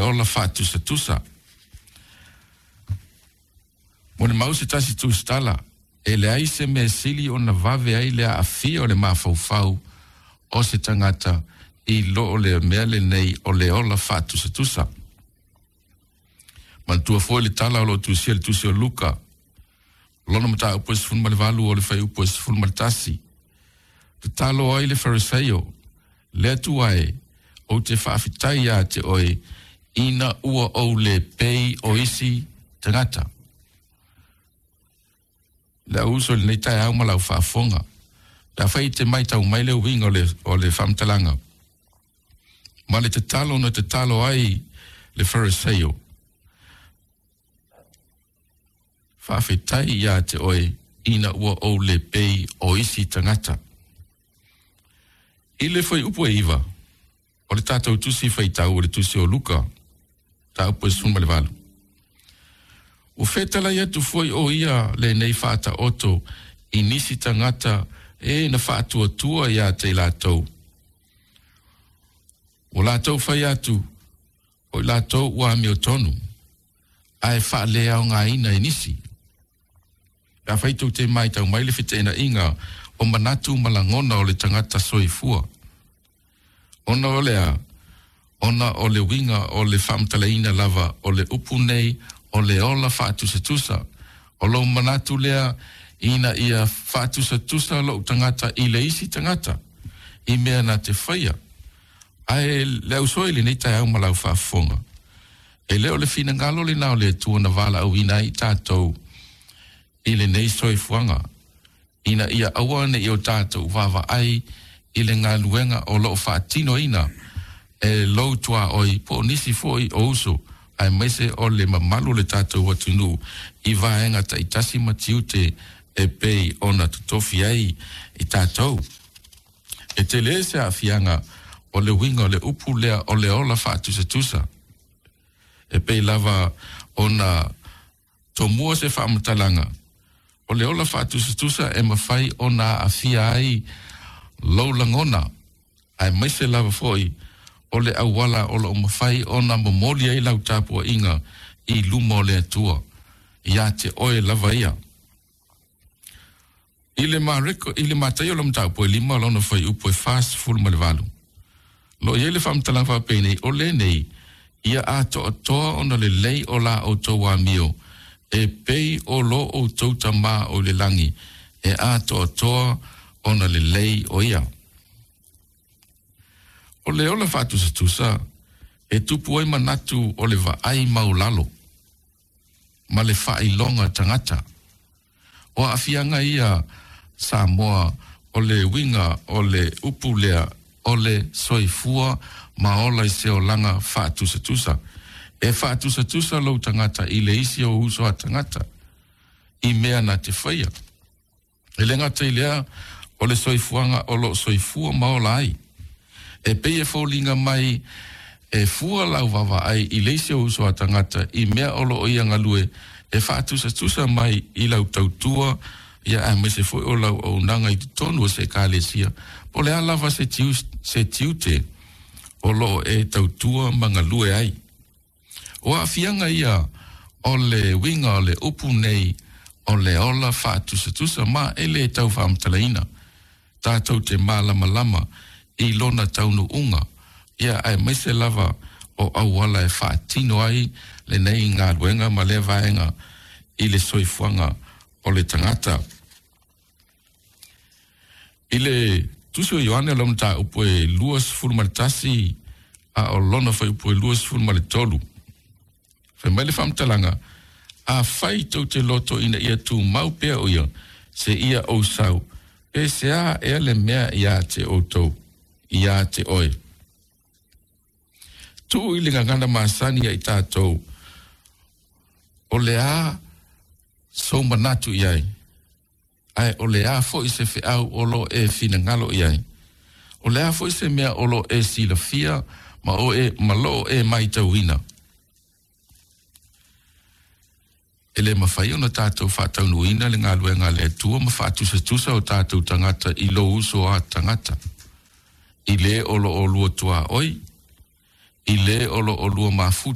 ola faatusatusa. Molimau se tasi tusitala, e leai se mea sili ona vave ai le aafia o le mafaufau o se tagata i lo o le mea lenei o le ola faatusatusa. Manatua foi le tala o lo o tusia i le tusi o Luka, lona mataupu e 18 o le fuaiupu e 11. Tatalo ai le Farisaio, Le Atua e, ou te faafetai ia te oe ina ua ou le pei o isi tagata. Le au uso i lenei taeao ma lau faafofoga, pe afai e te matau mai le uiga o le, o le faamatalaga, ma le tatalo na tatalo ai le Farisaio, Faafetai ia te oe ina ua ou le pei o isi tagata. I le fuaiupu e 9 o le tatou tusi faitau o le tusi o Luka, mataupu e 18, ua fetalai atu foi o ia lenei faataoto i nisi tagata e na faatuatua ia te i latou. Ua latou fai atu, o i latou ua amiotonu, ae faaleaogaina e nisi. Pe afai tou te matau mai le feteenaiga o manatu ma lagona o le tagata soifua, ona o le a? Ona o le uiga o le faamatalaina lava o le upu nei o le ola faatusatusa, o lou manatu lea ina ia faatusatusa lou tagata i le isi tagata i mea na te faia. Ae le ausoa i lenei taeao ma lau faafofoga, e le o le finagalo lena o le Atua na valaauina ai i tatou i lenei soifuaga, ina ia aua ne i o tatou vaavaai i le galuega o lo o faatinoina e lou tuaoi po o nisi foi o uso aemaise o le mamalu o le tatou atunuu i vaega taitasi ma tiute e pei ona totofi ai i tatou. E tele se aafiaga o le uiga o le upu lea o le ola faatusatusa. E pei lava ona tomua se faamatalaga, o le ola faatusatusa e mafai ona aafia ai lou lagona, aemaise lava foi o le auala o lo o mafai ona momoli ai lau tapuaiga i luma o le Atua, ia te oe lava ia. I le Mareko, i le Mataio o le mataupu e 5 lona fuaiupu e 48, lo o i ai le faamatalaga faapenei, O lenei, ia atoatoa ona lelei o la outou amio, e pei o lo outou Tama o i le lagi, e atoatoa ona lelei o ia. O le ola faatusatusa, e tupu ai manatu o le vaai maulalo ma le faailoga tagata. O aafiaga ia Samoa o le uiga o le upu lea o le soifua ma ola i se olaga faatusatusa. E faatusatusa lou tagata i le isi o uso a tagata i mea na te faia. E le gata i lea, o le soifuaga o lo o soifua ma ola ai. E pei e foliga mai e fua lau vaavaai i le isi o uso a tagata i mea o lo o ia galue e faatusatusa mai i lau tautua ia aemaise foi o lau auaunaga i totonu o se Ekalesia, po o le a lava se se tiute o lo o e tautua ma galue ai. O aafiaga ia o le uiga o le upu nei o le ola faatusatusa ma e le tau faamatalaina. Tatou te malamalama i lona taunuuga, ia aemaise lava o auala e faatino ai lenei galuega ma lea vaega i le soifuaga o le tagata. I le Tusi o Ioane o lona mataupu e 21 a o lona fuaiupu e 23, fai mai le faamatalaga, Afai tou te loto ina ia tumau pea o ia, se ia ou sau, pe se a ea le mea ia te outou, ia te oe. Tuu i le gagana masani ia i tatou, o le a sou manatu i ai? Ae o le a foi se feau o lo o e finagalo i ai? O le a foi se mea o lo o e silafia ma o e, ma lo o e matauina? E le mafai ona tatou faataunuuina le galuega a le Atua ma faatusatusa o tatou tagata i lou uso a tagata, i le o lo o lua tuaoi, i le o lo o lua mafuta.